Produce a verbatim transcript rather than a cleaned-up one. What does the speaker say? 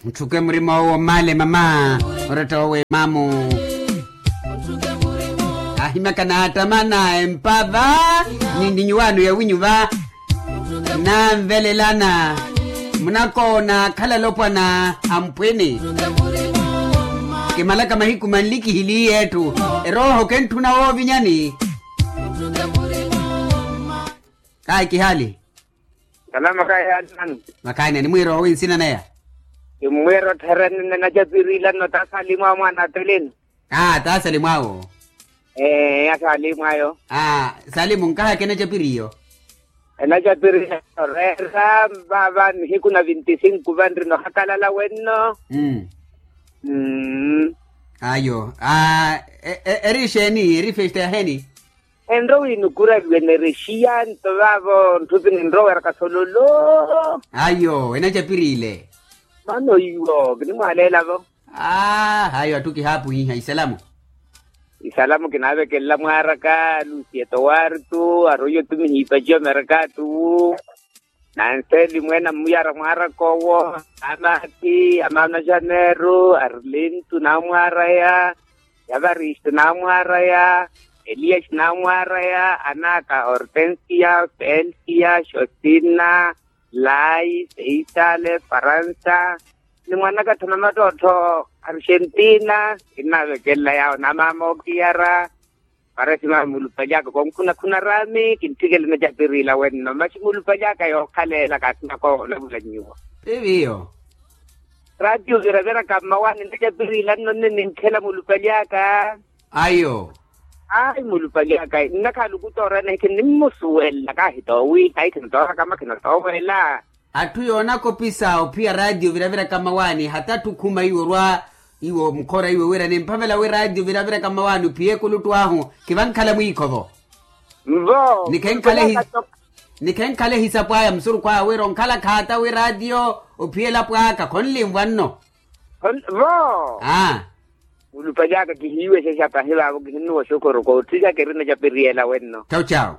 Ntthuke murima owo mmaale mama. Oratta owe mamu. Ahimyaka naattama na empava. Ni nninyuwaano yawinyuva. Nanvelelana. Munakoona akhala alopwana. Amphwini. Kimalaka mahiku manlikihiliye etthu. Erooho kentthuna woovinyani. Kayi kihaali. Salama kayi haali nani? Makhaani nimwiira owi nsina naya. Kimmwiira ottherene nacapirilanno ta salimu awo mwaana ateleni. Aa ta salimu awo. Ee ya salimu ayo. Aa salimu nkahaka enacapiriyo. Enacapirilanno reera vava nihiku na vinti sinku vanrino hakalala wenno. Mmm. Ayo. Eri exeeni eri festa yaheni? Enrowa inukuraliwe nerexiya nto vaavo ntthupi ninroweraka sololo. Ayo enacapiriile. Mano iwo kinimwaleelavo. Aa hayo atthu kihaapuhiha isalamu. Isalamu kinaavekelela mwaaraka lucia towartu aroiyo tumihiipaciwa merakatuwu. Nanseli mweene ammuyara mwaaraka owo. Amaati amaana janeiro arlintu naamwaaraya. Yavaristu naamwaaraya. Elias naamwaaraya anaaka hortensia felsia josina lai seisale faransa. Ni mwanakattho namattottho argentina kinnaavekelela yaawo na maama ookiyara. Parasi maama mulupalyaka konkhuna khuna raami kintthikela enacapiriila wenno maxi mulupalyaka yookhalela kaasinaka olavula nyuwo. Piviyo. Ratio viraviraka mmawaani enacapiriila nno nne ninkhela mulupalyaka. Ayo. Ayi mulupalyaka nnakhaluku toorana hikhi nimmusuwela kahi toowiiha hikhi natooraka makhina toowela. Atthu yoonakopisa ophiya ratio viraviraka mmawaani hata atthu khuma iwo orwa iwo mukhora iwe wira nimphavela wi ratio viraviraka mmawaani ophiye ekuluttu ahu. Kivankhala mwiikho vo. Nvo. Nikhenkhale ehisapu aya musurukhu aya wira onkhala khaata wi ratio ophiye elapo aka khonlinvwa nno. Vo. Aa. Mulupalyaka kihiiwexexa pahi vaavo kihinnuwa oxokoro kootthikaka eri enacapiriyela wenno. Chawu chawu.